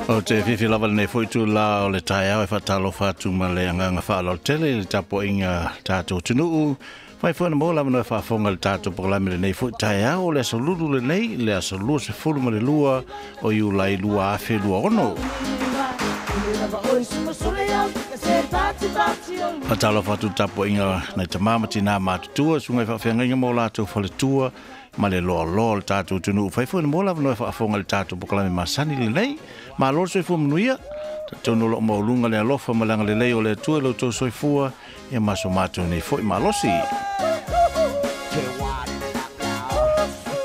O te fifi lava lenei foi itulā o le taeao e faatalofa atu ma le agaga faaaloalo tele i le tapuaiga tatou atunuu. Mai foi na maua le avanoa e faafofoga i le tatou polokalame lenei foi taeao o le aso Lulu lenei, le aso 22 o Iulai 2026. Faatalofa atu i le tapuaiga nai tama ma tinā matutua, susuga i faafeagaiga ma o latou faletua, ma le loaloa o le tatou atunuu. Fai foi na maua le avanoa e faafofoga i le tatou polokalame masani lenei. Malo le soifua manuia. Talitonu o lo o maualuga le alofa ma le agalelei o le Atua i lo outou soifua ia ma so matou nei foi malosi.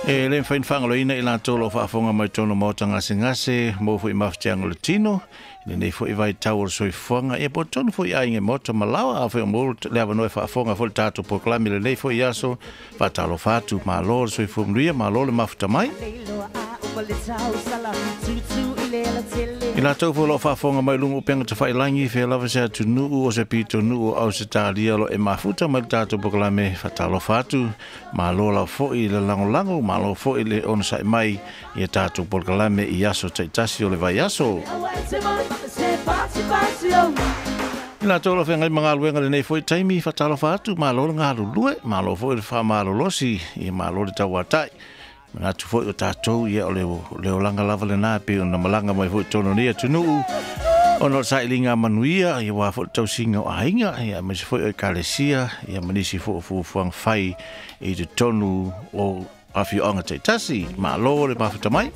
E le mafai ona faagaloina i latou o lo o faafofoga mai totonu o maota gasegase, maua foi mafatiaga o le tino, i lenei foi vaitau o le soifuaga, ia po o totonu foi i aiga i maota ma laoa, afai o maua le avanoa e faafofoga foi le tatou polokalame i lenei foi aso, faatalofa atu, malo le soifua manuia, malo le mafuta mai. I latou foi o lo o faafofoga mai i luga o upega tafailagi, fea lava se atunuu o se pitonuu o Ausetalia o lo o e mafuta mai le tatou polokalame, faatalofa atu, malo lava foi le lagolago, malo foi le onosai mai i a tatou polokalame i aso taitasi o le vaiaso. I latou o lo o feagai ma galuega i lenei foi taimi, faatalofa atu, malo le galulue, malo foi le faamalolosi, ia malo le tauatai. Manatu foi o tatou, ia o le olaga lava lena e pei ona malaga mai foi i totonu o nei atunuu, ona o le sailiga manuia, ia aua foi le tausiga o aiga, ia aemaise foi o ekalesia, ia ma nisi foi o fuafuaga fai i totonu o afioaga taitasi. Malo le mafuta mai.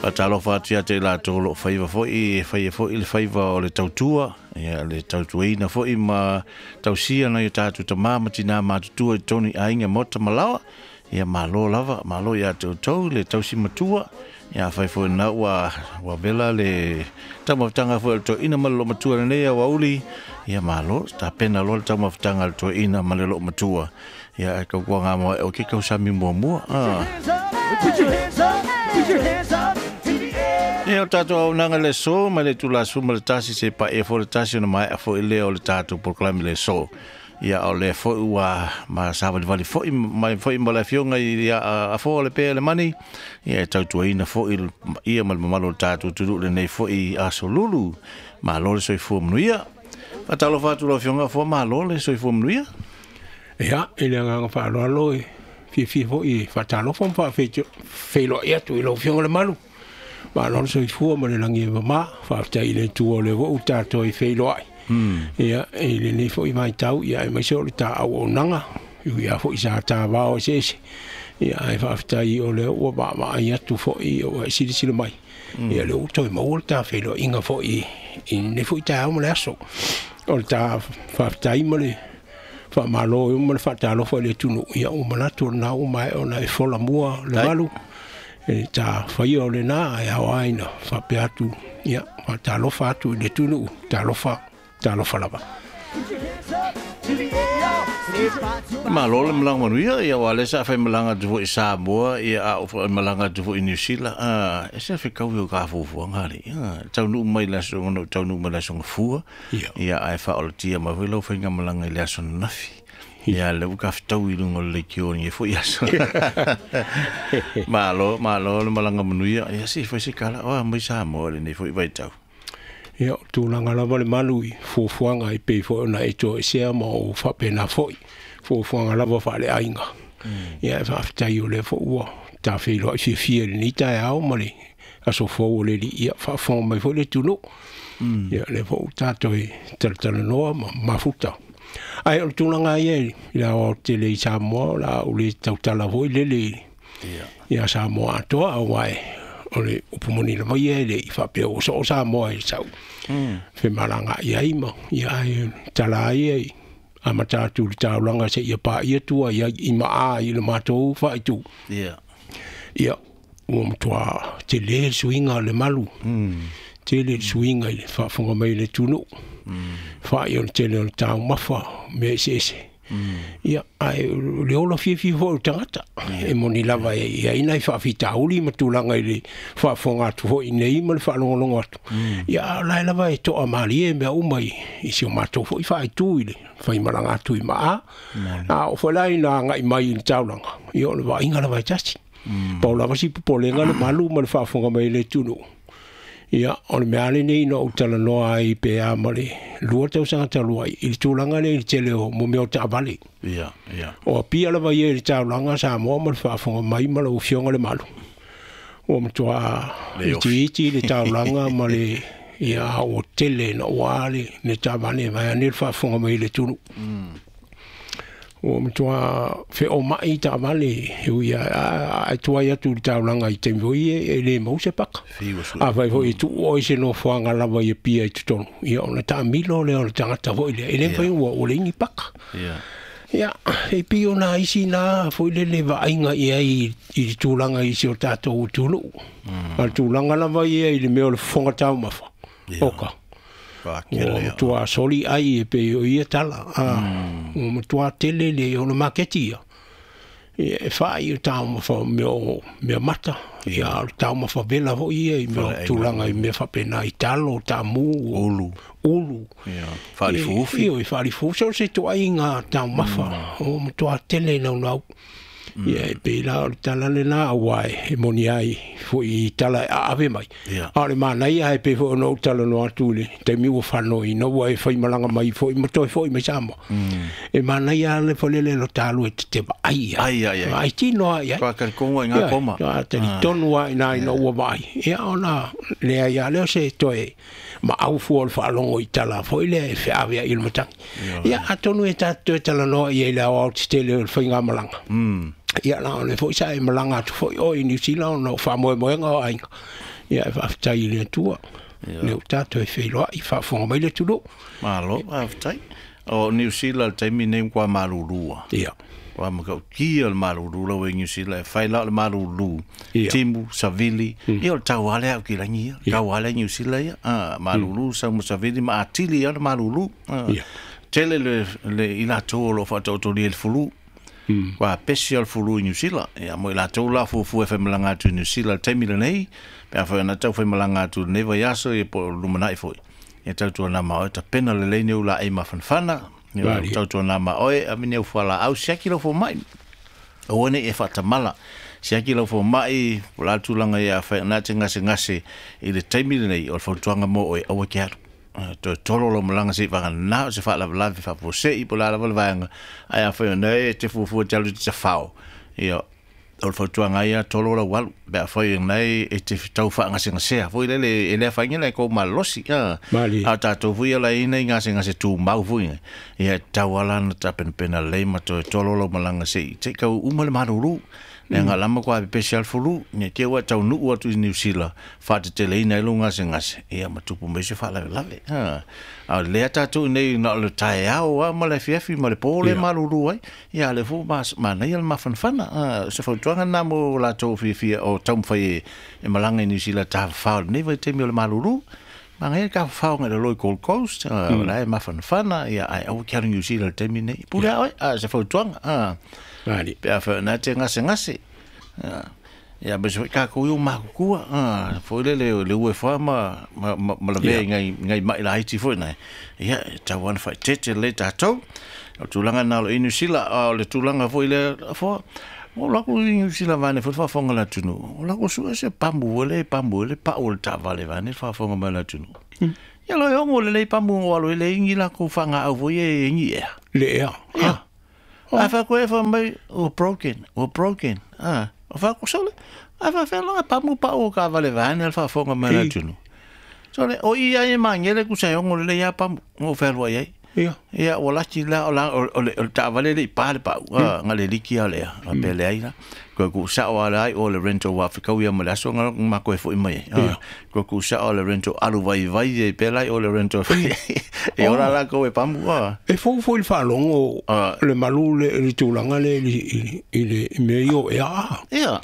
Faatalofa atu ia te i latou o lo o faiva foi, e faia foi le faiva o le tautua, ia le tautuaina foi ma tausia nai o tatou tama ma tinā matutua i totonu i aiga, maota ma laoa. Ia malo lava, malo ia te outou le tausi matua. Ia afai foi na ua vela le taumafataga foi o le toeaina ma le loomatua i lenei aoauli, ia malo, tapena loa le taumafataga a le toeaina ma le loomatua. Ia ae tautuaga ma oe ke tausami muamua. Ia o tatou auaunaga i le aso mai le itula 11 seia paia foi le 1 ona maea foi lea o le tatou polokalame i le aso. Ia o lea foi ua ma savalivali foi mai foi ma le afioga i Afoa Lepea Lemani, ia e tautuaina foi ia ma le mamalu o le tatou atunuu i lenei foi aso Lulu. Malo le soifua manuia. Faatalofa atu lau afioga Afoa, malo le soifua manuia. Ia, i le agaga faaaloalo e fiafia foi e faatalofa ma faafeiloai atu i lau afioga Lemalu. Malo le soifua ma le lagi e mama. Faafetai i le Atua o lea foi ua tatou e feiloai. Ia, i lenei foi vaitau, ia aemaise o le ta auaunaga, e ui lava foi sa ta vao eseese, ia ae faafetai o lea ua vaavaai atu foi ua e silasila mai, ia lea ua toe maua le ta feiloaiga foi i lenei foi taeao ma le aso. O le ta faafetai ma le faamalo ma le faatalofa i le atunuu, ia ua manatu o lena ua maea ona e fola mua le malu, e ta faia o lena, ae ao lava ina faapea atu, ia, faatalofa atu i le atunuu, talofa, talofa lava. Malo le malaga manuia, ia aua o lea sa faimalaga atu foi i Samoa, ia a o faimalaga atu foi i Niu Sila, e se fetaui o ka fuafuaga alii, taunuu mai le aso, ona ou taunuu mai le aso Gafua, ia ae faaolatia mai foi lau faigamalaga i le aso ananafi. Ia lea ua tafetaui i luga o le leitio i lenei foi aso. Malo, malo le malaga manuia. Ia se i fai se tala, oa mai Samoa i lenei foi vaitau. Ia, o tulaga lava le malu i fuafuaga e pei foi ona e toesea ma ou faapena foi, fuafuaga lava faaleaiga. Ia, e faafetai o lea foi ua ta feiloai fiafia i lenei taeao ma le aso fou o le Alii, ia faafofoga mai foi le atunuu. Ia, lea foi ua tatou talatalanoa ma mafuta. Ae o le tulaga ia i le aoaotele i Samoa, o le a ou le tautala foi lele ia Samoa atoa, aua o le upu moni lava ia e le i faapea ua soo Samoa i sau femalagaai ai ma ia, ae tala ia i amata atu i le taulaga seia paia tua i ai i maa i le matou faaitu. Ia, ua matua tele le suiga o le malu, tele le suiga i le faafofoga mai o le atunuu, fa'i o le tele o le taumafa, mea eseese. Ia ae le ola fiafia foi o le tagata e moni lava e i ai nai faafitauli ma tulaga i le faafofoga atu foi i nei ma le faalogologo atu. Ia a o la e lava e toamalie mea uma i si o matou foi faaitu i le faimalaga atu i Maa. A oo foi la ina agai mai i le taulaga, ia o le vaaiga lava e tasi. Pau lava si popolega le malu ma le faafofoga mai le atunuu. Ia, o le mea lenei na ou talanoa ai pe a ma le 2 tausaga talu ai i le tulaga lea i le tele o mo mea o taavale. Ia, ia. O Apia lava ia i le taulaga Samoa ma le faafofoga mai ma lau Afioga le malu. Ua matua itiiti le taulaga ma le ia ua tele na ua le taavale vaeane le faafofoga mai i le atunuu. Ua matua feomai taavale e ui a tuai atu i le taulaga i taimi foi e le maua se paka. Afai foi e tuu oe i se nofoaga lava i Apia i totonu, ia ona taamilo lea o le tagata foi lea, e le mafai ua leai ni paka. Ia, e pei ona isi na foi lele vaaiga i ai i le tulaga i si o tatou atunuu. A o le tulaga lava ia i le mea o le fofoga taumafa, oka. Ua matua soli ai e pei o ia tala. Ua matua tele le o le maketi ia. E fai o taumafa o mea o mea mata. Ia, o le taumafa vela foi ia i mea o tulaga i mea faapena i talo, taamu, ulu. Ulu. Ia, faalifuufi. Ia, faalifuufi. So se tuaiga taumafa. Ua matua tele naunau. Ia, e pei la o le tala lena aua e moni ai foi i tala e aave mai. A o le manaia e pei foi ona ou talanoa atu i le taimi ua fanoina ua e faimalaga mai foi ma toe foi mai Samoa. E manaia le folele lo talu e te vaai ai. Ai, ai, ai. Ai tino ai ai. Toa talitonga i ngā koma. Toa talitonu ai nā ina ua vaai. Ia ona lea ia leo se toe maau fua o le faalogo i tala foi lea e feave ai i le matagi. Ia atonu e tatou toe talanoa i ai le aoao tetele o le faigamalaga. Ia la o le foi sa e malaga atu foi oe i Niu Sila ona o faamoemoega o aiga. Ia e faafetai i le Atua. Le o tatou e feiloai faafofoga mai le atunuu. Malo, faafetai. O Niu Sila le taimi nei kwa malulua. Ia. Kwa makautia le malulu lau e Niu Sila e fai la o le malulu. Ia. Timu, Savili. Ia o le tauale au ki langi ia. Tauale Niu Sila ia. Malulu, sau ma Savili ma atili ia le malulu. Ia. Tele le i latou o lo whaatautolia le fulu. Kwa pesi o le fulu i Niu Sila. Ia mo i latou la fuafua e whaimalanga atu i Niu Sila le taimi lenei. Pe a whai ana tau whaimalanga atu lenei vai aso ia po lumanai foi. Ia tautua nā ma oe tapena le leine ula e mafanfana. Ia tautua nā ma oe a mine ufua la au siaki lau fo mai. O ane e whatamala. Siaki lau fo mai o la tūlanga ia whai ana te ngase ngase i le taimi lenei o le fautuanga mo oe aua ke aru. Toe tolo lo malanga se vanga nā o se whaalavalave whapose i po la lava le vaenga. Ai a whai ona e te fuafua te alu te whao. Ia o le fautuanga ia tolo lau alu. Pea whai nei e te tau whaangasengasea. Foi lele e lea whainga lai kou malosi. A tātou fui ala ina i ngasenga tū mau fui. Ia tau ala na ta penapena lei ma toe tolo lau malanga se i. Te kau uma le maruru. Nea ngā lama kwa pepesi al fulu. Nea te ua tau nuu atu i Niu Sila. Whaatetele ina i lo ngase ngase. Ia matupu mai se whaalawelawe. A lea tātou nei na o le tae ao a ma le fiafi ma le pōle maruru ai. Ia le fō manaia le mafanfana. Se fautuanga nā mo lātou fiafia o taumawhai e malanga i Niu Sila tāwhao nei vai temi o le maruru. Manga ka whao ngai le loi Gold Coast. La e mafanfana. Ia ai au kia Niu Sila le temi nei. Pure ai se fautuanga. Pea whai nā te ngase ngase. Ia bese ka ko yo makukua. Foi le le ue fa ma ma la ve ngai ngai mai la iti foi nai. Ia tau ana whai tete le tātou. O tūlanga nā lo i Niu Sila o le tūlanga foi le fo. O lako i Niu Sila vane foi whafonga la tunu. O lako sua se pambu le pa o le tāvale vane whafonga mai la tunu. Ia lo e ongo le lei pambu o alo le ingi la ko whanga au foi e ingi ea. Le ea. Ia. A wha koe wha mai o broken, o broken. O wha ko sole, a wha whenga pamu pa o ka vale vane al whafonga mai la tunu. Sole, o i ai e mangele ku sa ongo le ia pamu, ngo whelua iai. Ia. Ia, o lati la, o la, o le tāvale le i pā le pau, ngā le liki a lea, a pele ai la. Koe ku sao ala ai o le rento wa whikau ia ma le aso ngā ma koe fo i mai. Koe ku sao le rento alu vai vai e pele ai o le rento. E ora la koe pamu. E fō fō i le whaalongo le malu le tūlanga le i le mea i o ea. Ia.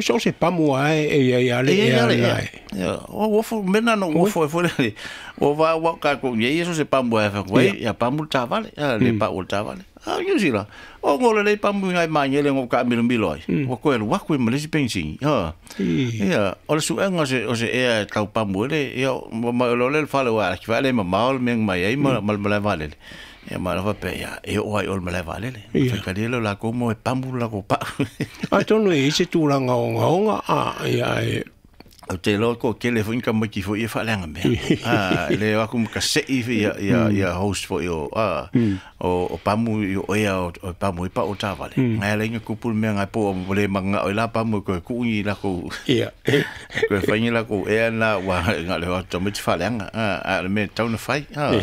So se pamu ai e ia le ea le ai. Ia, o wofo, mena no wofo e fo le. O va wa ka ko ia so se pamu ai fa koe, ia pamu le tāvale, le pa o le tāvale. A Niu Sila o ngolo le pamu ngai mangele ngo ka milo milo ai. Ua koe alu aku i ma le isi penisini. Ha. Ia, o le suega o se o se ea e tau pamu ele, ia ma o le fale wa ki vale ma maol me mai ai ma ma le vale. Ia ma la pe ia e o ai o le malae vaalele. Ia ka le la ko mo e pamu la ko pa. Atonu e i se tulaga ogaoga a ia e Ou te iloa ko kele foi ka maiki foi e faaleaga mea. A le o aku ma ka se'i foi ia ia ia host foi o a o o pamu i o ea o o pamu i pa o tavale. Ngai ala inga kupu le mea ngai po o le manga o la pamu ko ku i la ko ia ko whaingi la ko ea na wa nga le o tamaiti faaleaga a a le mea tau na fai a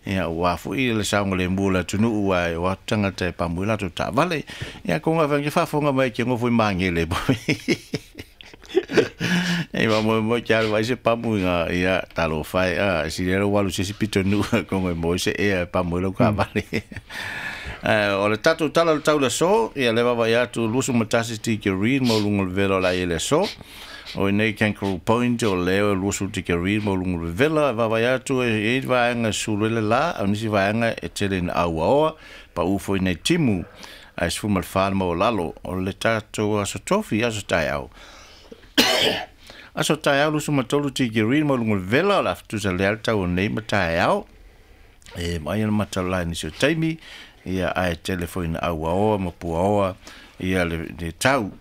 ia ua foi le saoga le mua le atunuu ua e o atu tagata e pamu i latou taavale ia ko nga whangi faafofoga mai ke ngofo i magele e ma mo mo kia vai se pamu nga ia talo fai a si le walu se si pito nu ko ngoi mo se e pamu lo ka vale. O le tatou tala le tau le so ia le vava ia tu lusu matasi ti ke read mo lungo le velo la ele so o nei Kangaroo Point o leo lusu ti ke read mo lungo le vela vava ia tu e e vaenga sulu le la o nisi vaenga e tele na aua oa pa ufo i nei timu a se fuma le whana mo lalo o le tatou aso tofi aso taeao. Aso taeao lusu matolu ti ke read mo lungo le vela o la ftusa le al tau o nei ma taeao e mai ana matala ni se taimi ia ae tele foi na aua oa ma pua oa ia le, le tau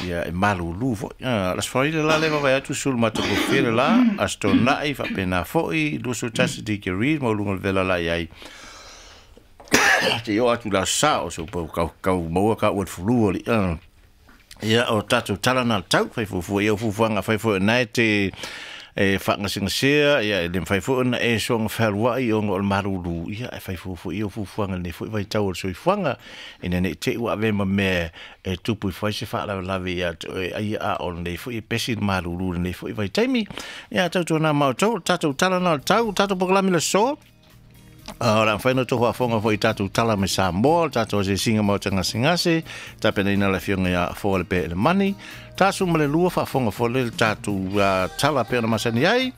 ia e malulu foi. La sfoile la le vai atu sul mata ko fele la asto nai fa pena foi lusu tasi di ke read mo lungo le vela la iai. Te o atu la sa o so po kau kau maua ka ua fulu o li. Ia o tatou tala na tau fai fuafua ia o fuafuaga fai foi nae te e faagasegasea ia e le mafai foi ona e soga fealuaʻi ona o le malūlū ia e fai fuafua ia o fuafuaga lenei foi vaitau o le soifuaga ina nei teʻi ua ave ma mea e tupu i fai se faalavelave ia te oe ai a o lenei foi e pesi le malūlū lenei foi vaitaimi ia tautuanā matou tatou tala na tau tatou pokalami le aso. O le a mafai ona outou faafofoga foi i tatou tala mai Samoa, le tatou asiasiga maota gasegase, tapenaina le afioga ia Afoa le Peelemani, tasu ma le lua faafofoga foi le tatou tala pei ona masani ai,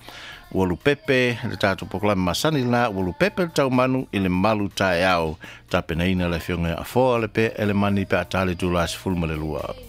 ua lupepe le tatou polokalame masani lena, ua lupepe le taumanu i le malu taeao, tapenaina le afioga ia Afoa le Peelemani pe a ta le itula 12.